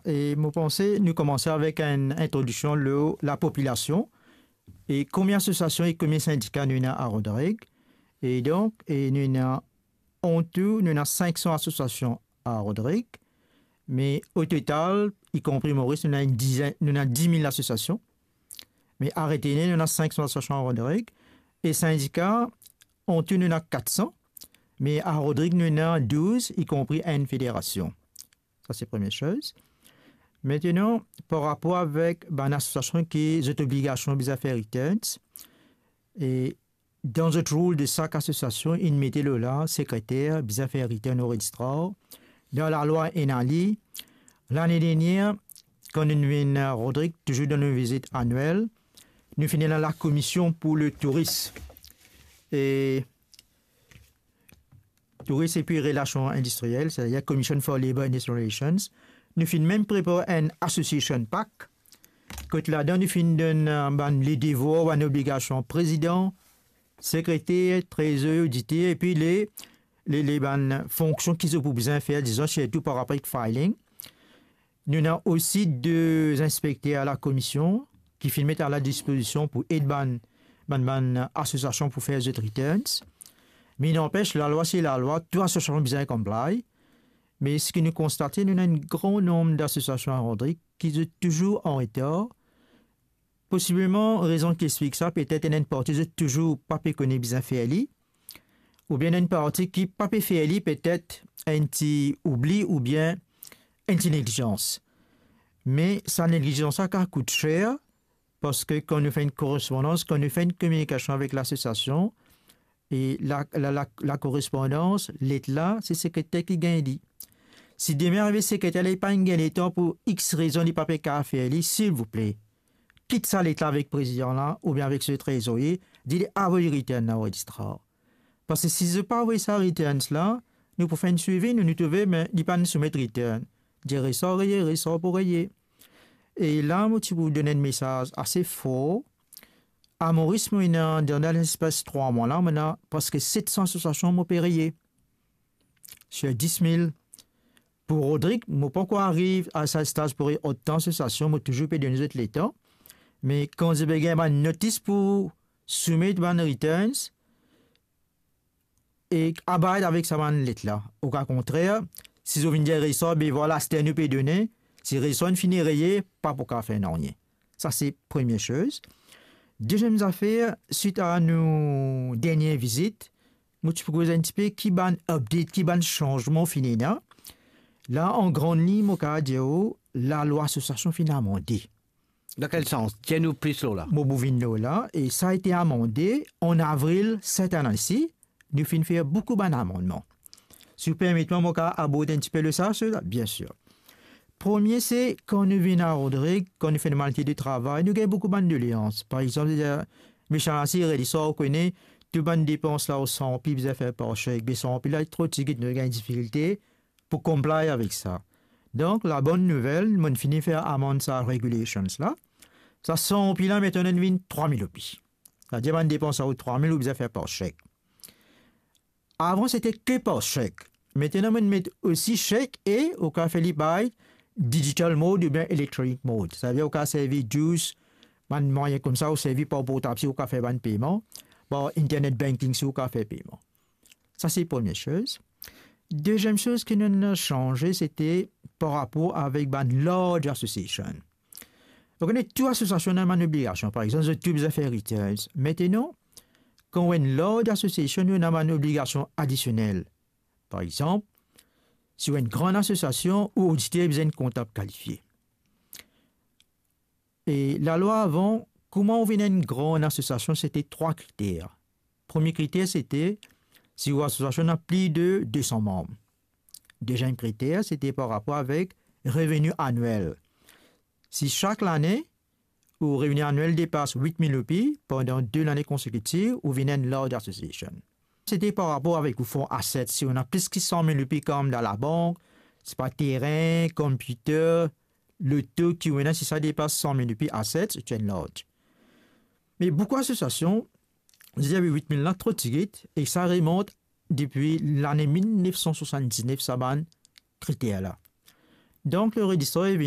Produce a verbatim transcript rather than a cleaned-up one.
e mo panse nou koumans avek enn introdiksion lor lapopilasion e konbien asosiasion e konbien sindika nou ena a Rodrig. E donk, e nou ena, an tou, nou ena sink san asosiasion a Rodrig, me o total, i konpri Moris, nou ena enn dizen, nou ena dis mil asosiasion, me a retene, nou ena sink san asosiasion a Rodrig, e sindika, an tou, nou ena kat san, me a Rodrig, nou ena douz, i konpri enn federasion. Sa se premie soz. Aster, par rapor avek bann asosiasion ki zot obligasion bizin fer returns, e dan zot rol de sak asosiasion, inn mete lor la, sekreter bizin fer return o registrar. Dan lalwa ena li, lane dernier, kan nou vinn, Rodrig, touzour dan nou vizit anwel, nou finn ena lakomision pou le touris. E touris epi relasion indistriel, setadir Commission for Labour and Industrial Relations, nou finn mem prepar enn association pack, kot ladan nou finn donn, eh, bann ledevwar, bann obligasion prezidan, sekreter, trezorye, oditer, epi le, le, le bann fonksion ki zot pou bizin fer, dizon, sirtou par rapor ek filing. Nou ena osi de inspekter a lakomision ki finn met a ladispozision pou ed bann, bann, bann asosiasion pou fer zot returns. Me nanpes, lalwa se lalwa, tou asosiasion bizin comply. Me seki nou konstate, nou ena enn gran nonb dasosiasion a Rodrig ki zot touzour an retar. Posibleman, rezon ki explik sa, petet ena enn parti zot touzour pa pe kone bizin fer li, oubien ena enn parti ki pa pe fer li, petet enn ti oubli oubien enn ti neglizans. Me sa neglizans la kav kout ser, parski kan nou fer enn korespondans, kan nou fer enn kominikasion avek lasosiasion, e la, la, la, lakorespondans, let la, se sekreter ki gagn li. Si demin arive sekreter la, li pa gagn letan pou X rezon, li pa pe kav fer li, silvouple, kit sa let la avek prezidan la, oubien avek so trezorye, dir li avoy return la o registrar. Parski si zot pa avoy sa returns la, nou pou fer enn swivi, nou, nou trouve, me li pa'nn soumet return. Dir resor reye, resor pou reye. E la, mo ti pou donn enn mesaz ase for. A Moris, mo ena, dan lespas trwa mwa la, mo ena preske set san asosiasion mo pe reye. Sir dis mil. Pou Rodrig, mo pankor ariv a sa staz pou reye otan asosiasion, mo touzour pe donn zot letan. Me kan zot pe gagn bann notis pou soumet bann returns, e abide avek sa bann let la. Oka kontrer, si zot vinn dir resor, be vwala, aster nou pe done, si resor inn fini reye, pa pou kav fer nanye. Sa se premie soz. Deziem zafer, swit a nou dernie vizit, mo ti pou koz enn tipe ki bann update, ki bann sanzman finn ena. La, an gran lign, mo kav dir ou, lalwa asosiasion finn amande. Dan kel sans? Dir nou plis lor la. Mo pou vinn lor la, e sa ete amande an avril set ane si, nou finn fer boukou bann amannman. Si ou permet mwa, mo kav abord enn tipe lor sa, sela, biensir. Premie, se kan nou vinn a Rodrig, kan nou fer nou malite de travay, nou gagn boukou bann doleans. Par exanp, eh, Michel Assi, Redisor, ou kone, tou bann depans la, ou sanpli bizin fer par sek, be sanpli la, tro tigit, nou gagn difikilte pou comply avek sa. Donk, labonn nouvel, mo'nn fini fer amand sa regulations la. Sa sanpli la, mintenan vinn trwa mil roupi. Setadir, bann depans la, ou trwa mil, ou bizin fer par sek. Avan, sete ke par sek. Mintenan, mo'nn met osi sek e ou kav fer li by digital mode oubien electronic mode. Setadir, ou kav servi juice, bann mwayin koumsa, ou servi par portab si ou kav fer bann peyman, par internet banking si ou kav fer peyman. Sa se premie soz. Deziem soz ki nou'nn sanze, sete par rapor avek bann large association. Ou kone, tou asosiasion ena bann obligasion. Par exanp, zot tou bizin fer returns. Mintenan, kan ou enn large association, ou ena bann obligasion adisionel. Par exanp, si ou enn gran asosiasion, ou oditer bizin enn kontab kalifie. E lalwa avan, kouma ou vinn enn gran asosiasion, sete trwa kriter. Premie kriter, sete si ou asosiasion ena plis de de san manm. Deziem kriter, sete par rapor avek reveni anwel. Si sak lane, ou reveni anwel depas wit mil roupi pandan de lane konsekitif, ou vinn enn large association. Sete par rapor avek ou fon asset, si ou ena plis ki san mil roupi kom dan labank, sepa terin, computer, loto ki ou ena, si sa depas san mil roupi asset, ou enn large. Me boukou asosiasion, zot dir wit mil la tro tigit, e sa remont depi lane mil nef san swasann-diznef, sa bann kriter la. Donk, le Redisor inn vini